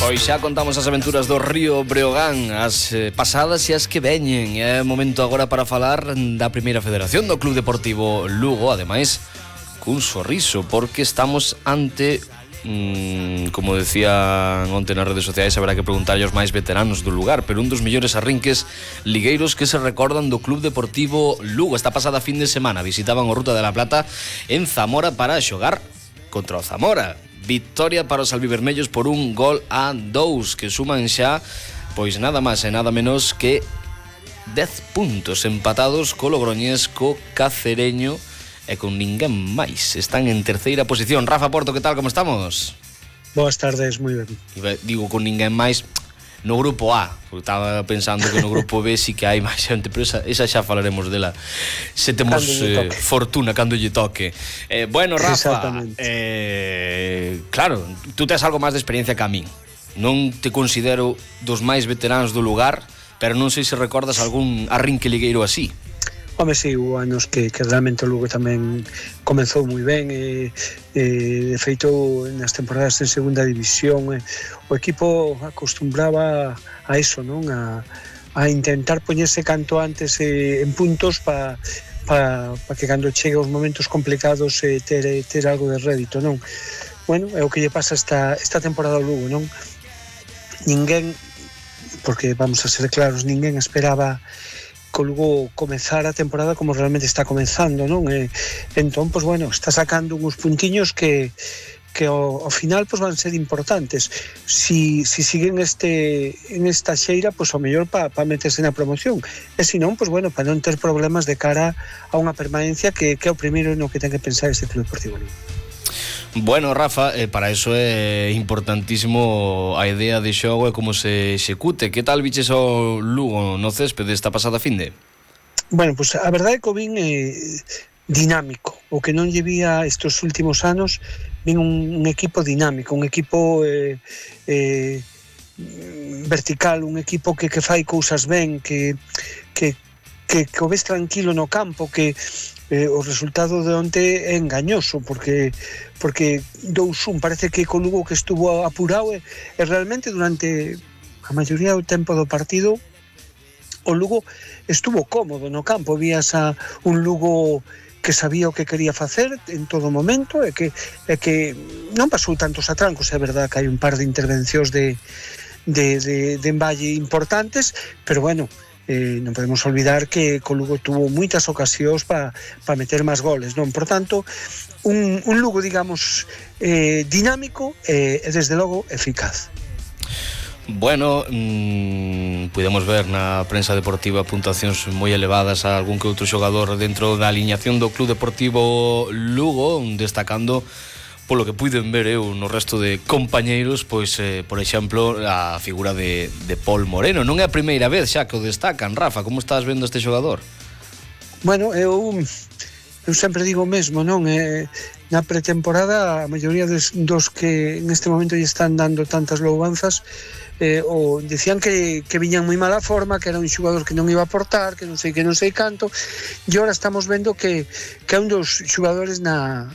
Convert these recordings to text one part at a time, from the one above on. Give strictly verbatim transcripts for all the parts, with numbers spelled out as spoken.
Pois xa contamos as aventuras do Río Breogán, as eh, pasadas e as que veñen. É momento agora para falar da primeira federación do Club Deportivo Lugo, ademais cun sorriso, porque estamos ante, mmm, como decían onte nas redes sociais, haberá que preguntarlle aos máis veteranos do lugar, pero un dos mellores arrinques ligueiros que se recordan do Club Deportivo Lugo. Esta pasada fin de semana visitaban o Ruta de la Plata en Zamora para xogar contra o Zamora. Victoria para os albivermellos por un gol a dous, que suman xa, pois nada máis e nada menos que dez puntos empatados co Logroñés, co Cacereño e con ninguén máis. Están en terceira posición. Rafa Porto, que tal, como estamos? Boas tardes, moi ben. Digo con ninguén máis no grupo A, porque estaba pensando que no grupo B sí que hai máis xente, pero esa, esa xa falaremos dela se temos eh, fortuna cando lle toque. Eh, bueno, Rafa, eh, claro, tú tes algo máis de experiencia que a min. Non te considero dos máis veteranos do lugar, pero non sei se recordas algún arrinque ligueiro así. Home, si, hubo anos que, que realmente o Lugo tamén comenzou moi ben e, e de feito nas temporadas en segunda división e, o equipo acostumbraba a eso, non? A, a intentar poñerse canto antes eh, en puntos para pa, pa que cando chegue os momentos complicados eh, ter, ter algo de rédito, non? Bueno, é o que lle pasa esta, esta temporada ao Lugo, non? Ninguén, porque vamos a ser claros, ninguén esperaba que o Lugo comezar a temporada como realmente está comenzando, non? E, entón, pois bueno, está sacando uns puntiños que que ao, ao final pois van ser importantes. Si, si siguen este en esta xeira, pois ao mellor para pa meterse na promoción. E se non, pois bueno, para non ter problemas de cara a unha permanencia que, que é o primeiro no que ten que pensar este Club Deportivo Lugo. Bueno, Rafa, eh, para iso é importantísimo a idea de xogo e como se execute. Que tal viches ao Lugo no céspede esta pasada finde? Bueno, pues a verdade é que o vin eh, dinámico. O que non lle vía estes últimos anos, vin un, un equipo dinámico, un equipo eh, eh, vertical, un equipo que, que fai cousas ben, que, que, que, que o ves tranquilo no campo, que Eh, o resultado de onte é engañoso porque porque dous un, parece que co Lugo que estuvo apurado e, e realmente durante a maioría do tempo do partido o Lugo estuvo cómodo no campo, vías a un Lugo que sabía o que quería facer en todo momento e que, e que non pasou tantos atrancos. É verdad que hai un par de intervencións de, de, de, de emballe importantes, pero bueno, Eh, non podemos olvidar que o Lugo tuvo moitas ocasións para pa meter máis goles, non? Por tanto, un, un Lugo, digamos, eh, dinámico e, eh, desde logo, eficaz. Bueno, mmm, podemos ver na prensa deportiva puntuacións moi elevadas a algún que outro xogador dentro da aliñación do Club Deportivo Lugo, destacando polo que puiden ver eu no resto de compañeiros, pois, eh, por exemplo, a figura de, de Paul Moreno. Non é a primeira vez xa que o destacan. Rafa, como estás vendo este xogador? Bueno, eu, eu sempre digo o mesmo, non? Eh, na pretemporada, a maioría dos, dos que neste momento lle están dando tantas louvanzas, eh, o decían que, que viñan moi mala forma, que era un xogador que non iba a aportar, que non sei que non sei canto, e agora estamos vendo que, que é un dos xogadores na...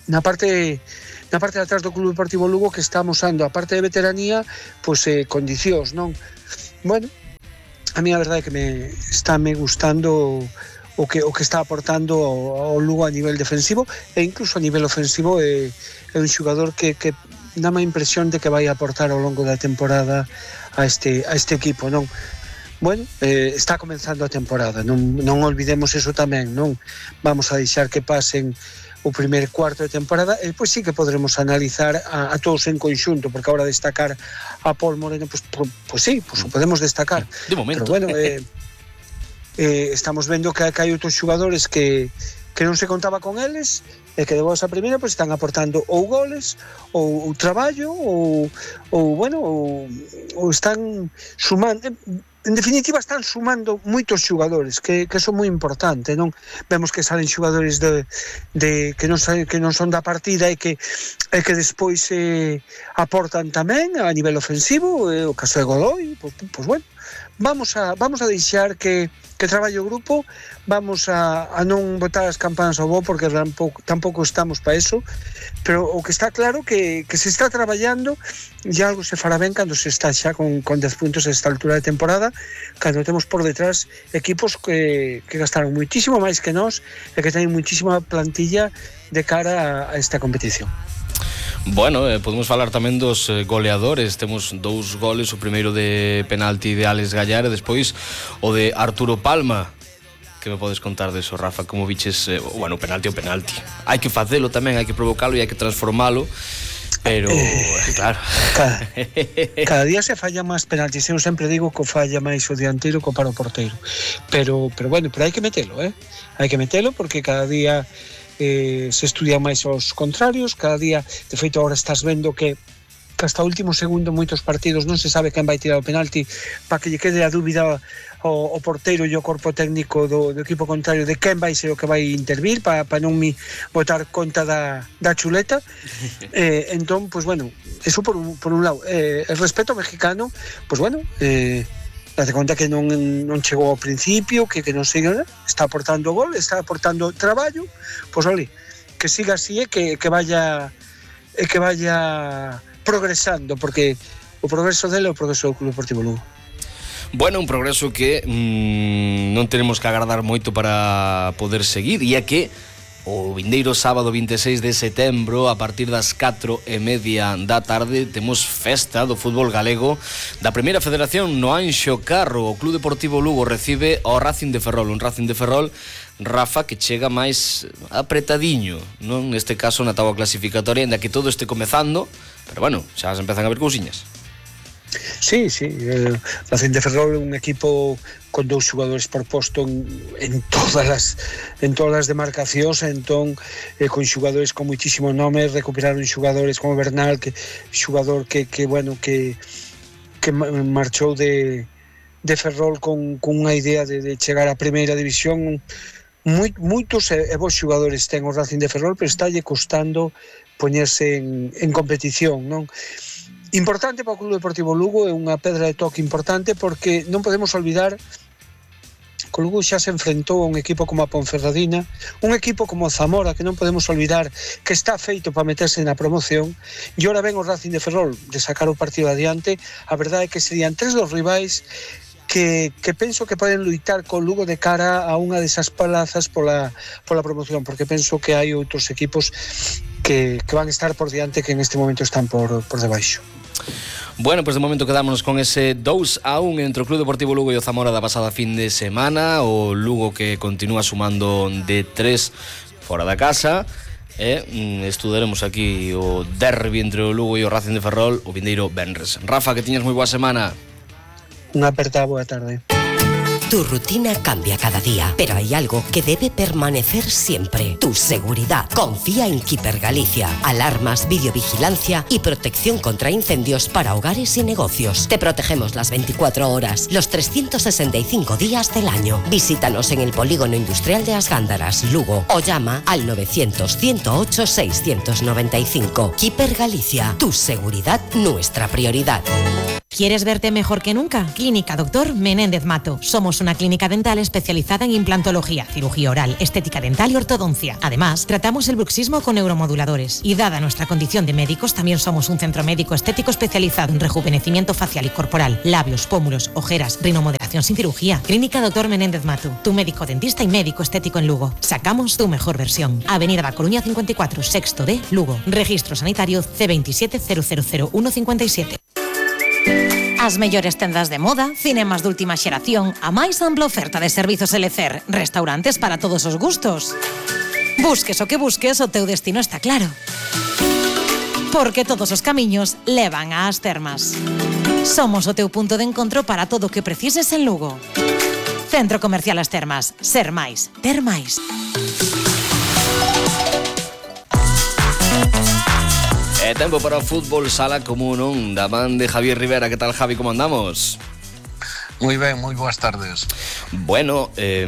na parte na parte de atrás do Club Deportivo Lugo que está amosando a parte de veteranía, pois eh, condicións, non? Bueno, a mí a verdade é que me está me gustando o que o que está aportando ao, ao Lugo a nivel defensivo e incluso a nivel ofensivo. É, é un xogador que, que dá má impresión de que vai aportar ao longo da temporada a este a este equipo, non? Bueno, eh, está comenzando a temporada, non, non olvidemos eso tamén, non? Vamos a deixar que pasen o primer cuarto de temporada e depois sí que podremos analizar a, a todos en conxunto, porque agora destacar a Paul Moreno, pues, pues, pues sí, pues o podemos destacar. De momento. Pero bueno, eh, eh, estamos vendo que, que hai outros xogadores que, que non se contaba con eles e que de boas a primeira pues, están aportando ou goles, ou, ou traballo, ou, ou bueno, ou, ou están sumando... En definitiva, están sumando moitos xogadores, que, que son moi importante, non? Vemos que salen xogadores de, de que non saben, que non son da partida e que e que despois eh, aportan tamén a nivel ofensivo, eh, o caso de Godoy, pois, pois bueno, vamos a vamos a deixar que que traballe o grupo, vamos a, a non botar as campanas ao bo porque tampouco, tampouco estamos para eso, pero o que está claro que, que se está traballando e algo se fará ben cando se está xa con, con dez puntos a esta altura de temporada, cando temos por detrás equipos que, que gastaron muitísimo máis que nós e que teñen muitísima plantilla de cara a, a esta competición. Bueno, eh, podemos falar tamén dos eh, goleadores. Temos dous goles, o primeiro de penalti de Alex Gallar e despois o de Arturo Palma. Que me podes contar deso, Rafa? Como viches, eh, bueno, penalti o penalti. Hai que facelo tamén, hai que provocalo e hai que transformalo. Pero, eh, claro. Cada, cada día se falla máis penaltis. Eu sempre digo que falla máis o dianteiro que para o porteiro. Pero, pero bueno, pero hai que metelo, eh? Hai que metelo porque cada día eh, se estudian máis os contrarios, cada día, de feito, agora estás vendo que hasta o último segundo moitos partidos non se sabe quen vai tirar o penalti para que lle quede a dúbida o, o porteiro e o corpo técnico do, do equipo contrario de quen vai ser o que vai intervir para pa non mi botar conta da, da chuleta. eh, entón, pues bueno, eso por un, por un lado. Eh, el respeto mexicano, pues bueno, eh, date conta que non, non chegou ao principio, que, que non siga, está aportando gol, está aportando traballo, pois pues, ole, que siga así e que, que vaya e que vaya progresando, porque o progreso dele é o progreso do Club Deportivo Lugo. Bueno, un progreso que mmm, non tenemos que agardar moito para poder seguir, e é que o vindeiro sábado vinte e seis de setembro, a partir das catro e media da tarde, temos festa do fútbol galego da Primeira Federación no Anxo Carro. O Club Deportivo Lugo recibe ao Racing de Ferrol, un Racing de Ferrol, Rafa, que chega máis apretadiño, non? Neste caso na táboa clasificatoria, ainda que todo este comezando, pero bueno, xa se empezan a ver cousiñas. Sí, sí, eh, Racing de Ferrol é un equipo con dous xogadores por posto en, en todas as en todas as demarcacións, entón eh, con xogadores con muitísimo nome, recuperaron xogadores como Bernal, que xogador que, que bueno, que que marchou de de Ferrol con, con unha idea de, de chegar á primeira división. Moi, moitos e, e bons xogadores ten o Racing de Ferrol, pero estálle costando poñerse en, en competición, non? Importante para o Club Deportivo Lugo, é unha pedra de toque importante porque non podemos olvidar que o Lugo xa se enfrentou a un equipo como a Ponferradina, un equipo como o Zamora, que non podemos olvidar que está feito para meterse na promoción, e ora ven o Racing de Ferrol de sacar o partido adiante. A verdade é que serían tres dos rivais que, que penso que poden luitar con Lugo de cara a unha desas plazas pola, pola promoción, porque penso que hai outros equipos que, que van a estar por diante que en este momento están por, por debaixo. Bueno, pues de momento quedámonos con ese dous a un entre o Club Deportivo Lugo e o Zamora da pasada fin de semana. O Lugo que continúa sumando de tres fora da casa. E estudaremos aquí o derbi entre o Lugo e o Racing de Ferrol o vindeiro venres. Rafa, que tiñas moi boa semana. Unha aperta boa tarde. Tu rutina cambia cada día, pero hay algo que debe permanecer siempre: tu seguridad. Confía en Keeper Galicia. Alarmas, videovigilancia y protección contra incendios para hogares y negocios. Te protegemos las veinticuatro horas, los trescientos sesenta y cinco días del año. Visítanos en el Polígono Industrial de As Gándaras, Lugo, o llama al novecientos, ciento ocho, seiscientos noventa y cinco. Keeper Galicia. Tu seguridad, nuestra prioridad. ¿Quieres verte mejor que nunca? Clínica Doctor Menéndez Mato. Somos una clínica dental especializada en implantología, cirugía oral, estética dental y ortodoncia. Además, tratamos el bruxismo con neuromoduladores. Y dada nuestra condición de médicos, también somos un centro médico estético especializado en rejuvenecimiento facial y corporal, labios, pómulos, ojeras, rinomodelación sin cirugía. Clínica Doctor Menéndez Mato. Tu médico dentista y médico estético en Lugo. Sacamos tu mejor versión. Avenida da Coruña cincuenta y cuatro, sexto D, Lugo. Registro sanitario C veintisiete cero cero cero uno cincuenta y siete. As mellores tendas de moda, cinemas de última xeración, a máis ampla oferta de servizos L C E R, restaurantes para todos os gustos. Busques o que busques, o teu destino está claro. Porque todos os camiños levan ás termas. Somos o teu punto de encontro para todo o que precises en Lugo. Centro Comercial As Termas. Ser máis, ter máis. E tempo para o fútbol sala común, non? Da man de Javier Rivera. Que tal, Javi? Como andamos? Moi ben, moi boas tardes. Bueno, eh,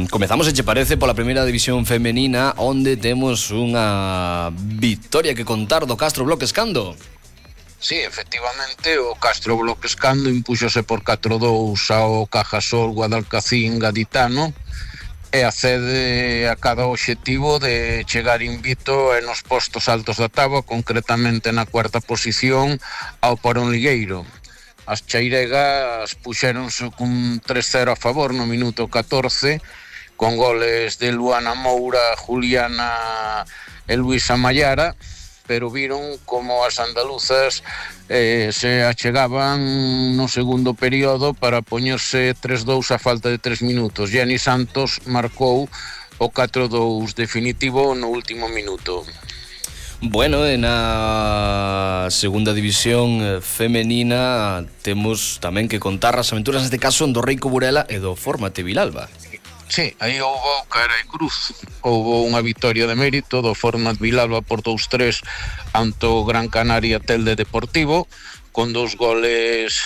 comezamos, se che parece, pola primeira división femenina, onde temos unha victoria que contar do Castro Bloques Cando. Sí, efectivamente, o Castro Bloquescando impúxose por catro dous ao Cajasol Guadalcacín Gaditano e accede a cada obxectivo de chegar invicto e nos postos altos da táboa, concretamente na cuarta posición ao Porón Ligueiro. As chairegas puxéronse cun tres cero a favor no minuto catorce, con goles de Luana Moura, Juliana e Luisa Mayara, pero viron como as andaluzas eh, se achegaban no segundo período para poñerse tres dous a falta de tres minutos. Jenny Santos marcou o catro dous definitivo no último minuto. Bueno, en a segunda división femenina temos tamén que contar as aventuras, neste caso, do Reico Burela e do Fórmate Vilalba. Sí, aí houve cara e cruz. Houve unha victoria de mérito do Format Vilalba por dous tres ante o Gran Canaria Telde Deportivo, con dous goles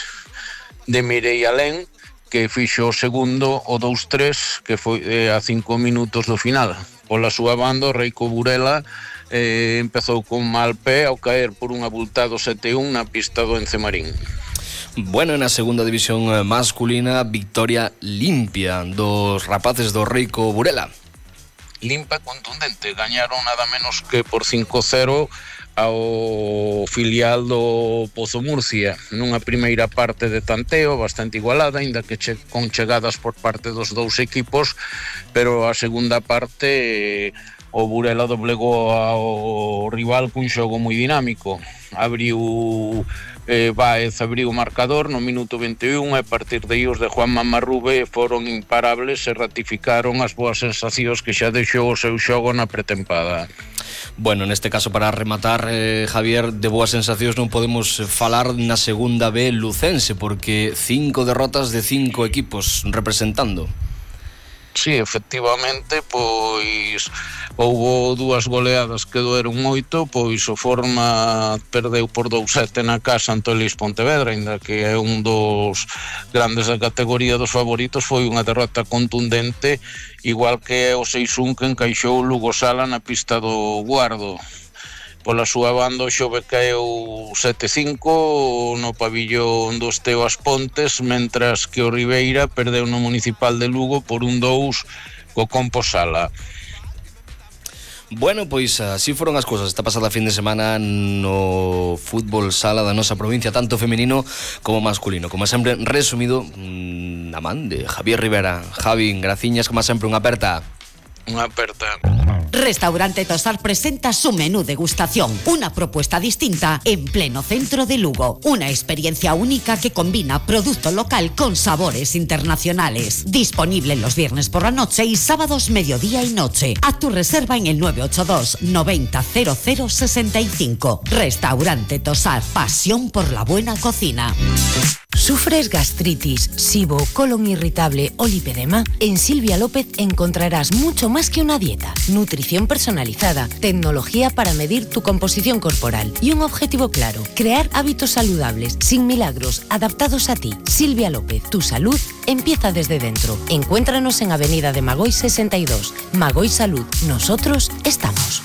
de Mireia Alén, que fixo o segundo, o dous tres, que foi eh, a cinco minutos do final. Pola súa banda, o Reico Burela eh, empezou con mal pé ao caer por un abultado sete un na pista do Encemarín. Bueno, na segunda división masculina, victoria limpia dos rapaces do Reico Burela. Limpa, contundente, gañaron nada menos que por cinco cero ao filial do Pozo Murcia, nunha primeira parte de tanteo bastante igualada, aínda que che, con chegadas por parte dos dous equipos, pero a segunda parte o Burela doblegou ao rival cun xogo moi dinámico. Abriu eh, Báez abriu o marcador no minuto vinte e un e a partir de aí os de Juan Mamarrube foron imparables e ratificaron as boas sensacións que xa deixou o seu xogo na pretempada. Bueno, neste caso, para rematar, eh, Javier, de boas sensacións non podemos falar na segunda B lucense, porque cinco derrotas de cinco equipos representando. Sí, efectivamente, pois houbo dúas goleadas que doeron moito, pois o Forma perdeu por dous sete na casa ante o Lis Pontevedra, ainda que é un dos grandes da categoría dos favoritos, foi unha derrota contundente, igual que o seis un que encaixou o Lugo Sala na pista do Guardo. Pola súa banda, o Xove caeu sete cinco no pabillón do Esteo As Pontes, mentras que o Ribeira perdeu no Municipal de Lugo por un dous co Compo Sala. Bueno, pois así foron as cousas esta pasada fin de semana no fútbol sala da nosa provincia, tanto femenino como masculino. Como sempre, resumido na man de Javier Rivera. Javi, graciñas, como sempre, unha aperta. Unha aperta. Restaurante Tosar presenta su menú degustación, una propuesta distinta en pleno centro de Lugo. Una experiencia única que combina producto local con sabores internacionales. Disponible los viernes por la noche y sábados mediodía y noche. Haz tu reserva en el nueve ocho dos noventa cero cero sesenta y cinco. Restaurante Tosar, pasión por la buena cocina. ¿Sufres gastritis, SIBO, colon irritable o lipedema? En Silvia López encontrarás mucho más que una dieta. Nutrición personalizada, tecnología para medir tu composición corporal y un objetivo claro: crear hábitos saludables, sin milagros, adaptados a ti. Silvia López, tu salud empieza desde dentro. Encuéntranos en Avenida de Magoy sesenta y dos. Magoy Salud, nosotros estamos.